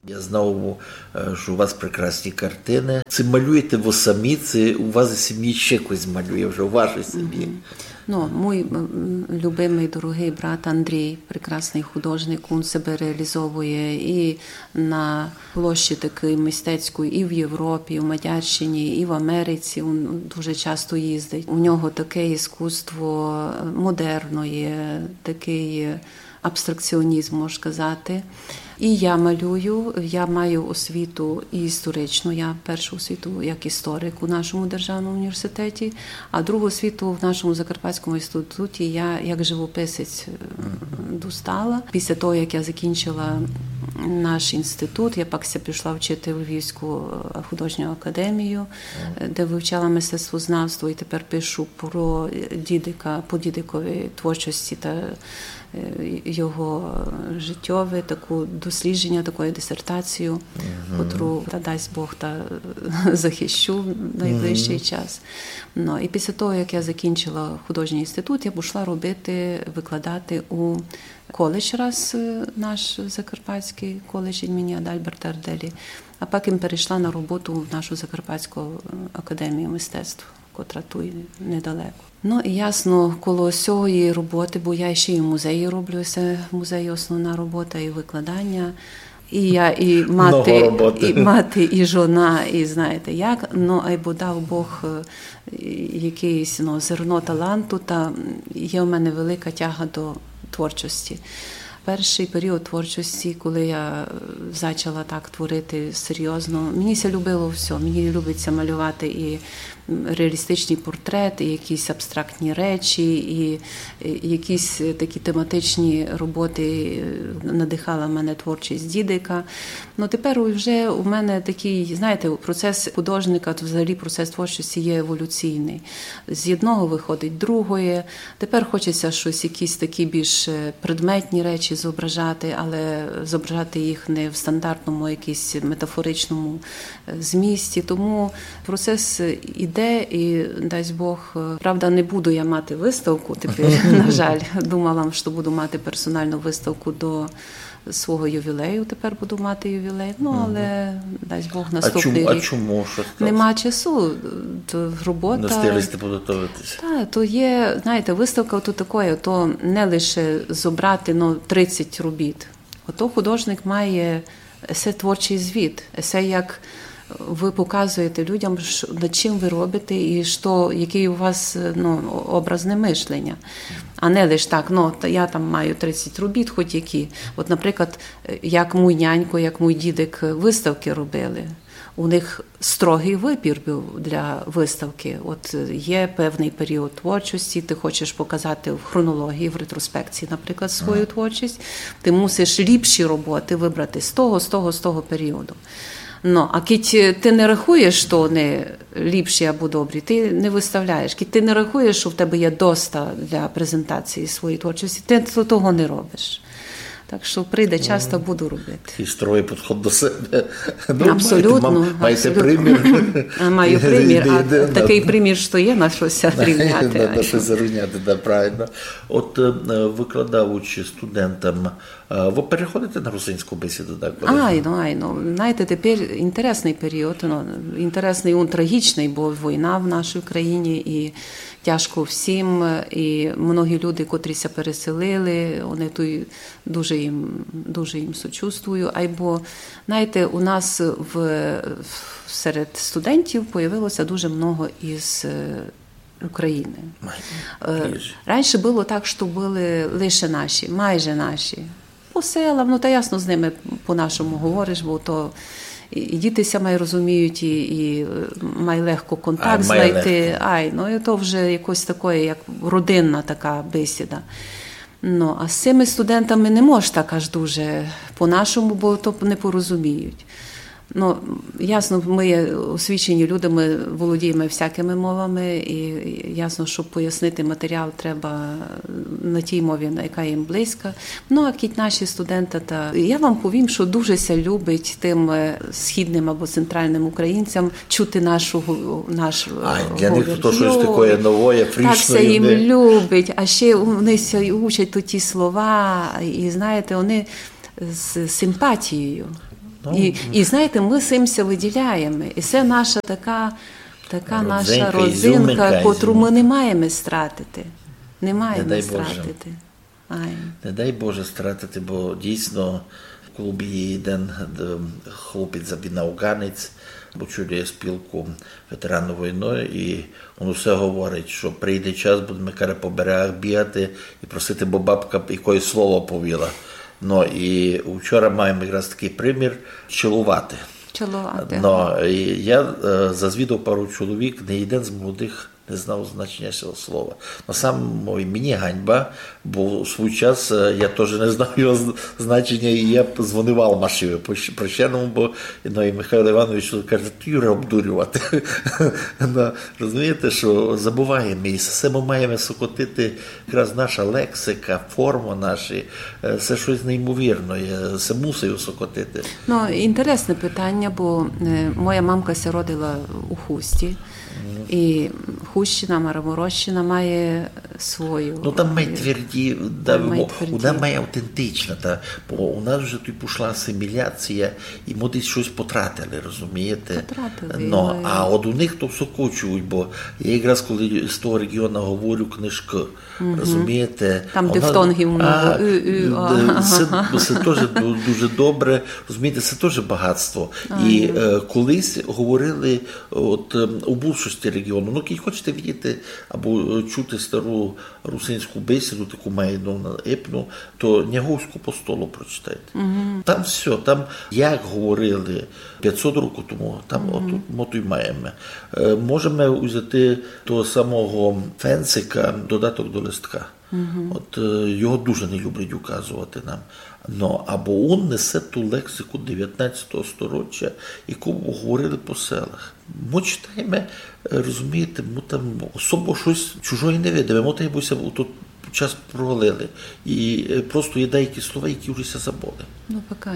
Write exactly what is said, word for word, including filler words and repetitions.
Я знав, е, што у вас прекрасні картины. Ци малюєте вы самі, ци у вас в сімї ще хтось малює вже, у вашій сімї? Ну, мій, м, любимый, дорогый брат Андрій, прекрасный художник, він себе реалізовує і на площі такій мистецькій, і в Європі, і в Мадярщині, і в Америці. Він дуже часто їздить. У нього таке іскусство, е, модерноє, такый, е, абстракціонізм, можна сказати. І я малюю, я маю освіту і історичну, я першу освіту як історик у нашому державному університеті, а другу освіту в нашому Закарпатському інституті я як живописець, е, достала. Після того, як я закінчила наш інститут, я пак ся пішла вчити в Львівську, е, художню академію, е, де вивчала мистецтвознавство, і тепер пишу про, е, Дідика, по Дідиковій творчості та, е, його життєве, таку дослідження, такої дисертацію, котру, та дасть Бог, та захищу в найближчий час. Ну, і після того, як я закінчила художній інститут, я пішла робити, викладати у коледж раз, е, наш Закарпатський коледж імені Адальберта Арделі, а потім перейшла на роботу в нашу Закарпатську, е, академію мистецтв, котра туй недалеко. Ну, і ясно, коло сьої роботи, бо я ще і в музеї роблю, се в музеї основна робота, і викладання. І я і мати, і мати, і жона, і знаєте як. Ну, айбо дав Бог, е, якийсь, ну, зерно таланту, та є в мене велика тяга до творчості. Перший період творчості, коли я, е, зачала так творити серйозно, мені ся любило всьо. Мені любить ся малювати і, м, реалістичні портрети, і якісь абстрактні речі, і, і якісь, е, такі тематичні роботи, е, надихала мене творчість Дідика. Ну, тепер вже у мене такий, знаєте, процес художника, то взагалі процес творчості є еволюційний. З одного виходить другоє. Тепер хочеться щось, якісь такі більш, е, предметні речі зображати, але зображати їх не в стандартному, якійсь метафоричному, е, змісті. Тому процес іде, і дасть Бог, е, правда, не буду я мати виставку тепер, на жаль. Думала, що буду мати персональну виставку до свого ювілею, тепер буду мати ювілей. Ну, але, дасть Бог, наступний рік. А чому, а чому, що сталося? Нема часу, то робота. Не встигли сте підготовитися? Та, то є, знаєте, виставка то таке, то не лише зобрати, ну, тридцять робіт. Ото художник має есе творчий звіт, есе як ви показуєте людям, ш-, над чим ви робите і што, який у вас, ну, образне мишлення. А не лиш так, ну, та я там маю тридцять робіт, хоч які. От, наприклад, як мій нянько, як мій дідик виставки робили. У них строгий вибір був для виставки. От, е, є певний період творчості, ти хочеш показати в хронології, в ретроспекції, наприклад, свою творчість, ти мусиш ліпші роботи вибрати з того, з того, з того періоду. Ну, а кідь, е, ти не рахуєш, що вони ліпші або добрі, ти не виставляєш. Кідь ти не рахуєш, що в тебе є доста для презентації своєї творчості, ти то-, того не робиш. Так що прийде час, та буду робити. Такий строгий підхід до себе. Ну, абсолютно, маєте, ма-, маєте абсолютно. Примір. А, маю примір, а такий примір, що є на що ся рівняти, на, на що ся рівняти, да, правильно. От, е, викладаючи студентам, е, ви переходите на русинську бесіду, так? Айно, айно. Знаєте, тепер інтересний період, ну, інтересний, він трагічний, бо війна в нашій країні, і тяжко всім, і многі люди, котрі ся переселили, вони туй дуже їм, дуже їм сочувствую. Айбо, знаєте, у нас в, в, серед студентів появилося дуже много із, е, України. Е, раніше було так, що були лише наші, майже наші. По селам, ну, та ясно, з ними по-нашому говориш, бо то і, і діти ся май розуміють, і, і, е, май легко контакт знайти. Ай, ну, і то вже якось таке, як родинна така бесіда. Ну, а з цими студентами не можеш так аж дуже по-нашому, бо то не порозуміють. Ну, ясно, ми є освічені люди, ми володіємо всякими мовами, і ясно, щоб пояснити матеріал, треба на тій мові, на яка їм близька. Ну, а кідь наші студенти, та я вам повім, що дуже ся любить тим, е, східним або центральним українцям чути нашу гу-, наш, е, говор. А для них то щось таке нове, фрішне. Так ся їм любить, а ще вони ся учать то ті слова, і, знаєте, вони з симпатією. І, і знаєте, мы сим ся выділяєме. І се наша така, така наша родзинка, котру мы не маєме стратити. Не маєме стратити. Ай. Не дай Боже стратити, бо дійсно в клубі є один хлопець, він афганець, очолює спілку ветеранів війни, і він усе говорить, що прийде час, будеме, каже, по берегах бігати і просити, бо бабка якоїсь слово повіла. Ну і вчора маєме якраз такий примір — чиловати. Чиловати. Ну, і я е, зазвідав пару чоловік, не один з молодих не знав значення цього слова. Но сам мовив, мені ганьба, бо у свій час е, я теж не знав його з- значення, і я дзвонив Алмашеві по щ- по щеному, бо ну, і Михайло Іванович каже: «Ти, Юре, обдурювати». Ну, розумієте, що забуваємо, і все ми маємо сокотити, якраз наша лексика, форма наші, е, це щось неймовірне, це мусить сокотити. Ну, інтересне питання, бо е, моя мамка ся родила у Хусті, і Хустщина, Мараморощина має свою. Ну там май тверді, да, Там май мо- тверді. Вона май автентична, та, бо у нас вже тут пішла асиміляція, і ми десь щось потратили, розумієте? Потратили, Ну, ну, а от у них то все кочують, бо я якраз коли з того регіону говорю книжки, розумієте? Там Вона- дифтонгів много, А, ы, ы, а, е, Це, це теж ду- дуже добре, розумієте, це теж багатство. І е, колись говорили от, ем, у більшості регіону, ну, кілько хочете видіти або е, чути стару русинську бесіду, таку має, ну, на епну, то Няговську постолу прочитайте. Там все, там як говорили пятсот років тому, там отут ми то й маєме. Е, можеме взяти того самого Фенцика, додаток до листка. От е, його дуже не люблять указувати нам. Но, або він несе ту лексику девятнадцятого сторіччя, яку говорили по селах. Ми читаєме, е, розумієте, ми там особо щось чужоє не видиме. Ми так якби ся у той час провалили. І е, просто є деякі слова, які вже ся забули. Ну, пока.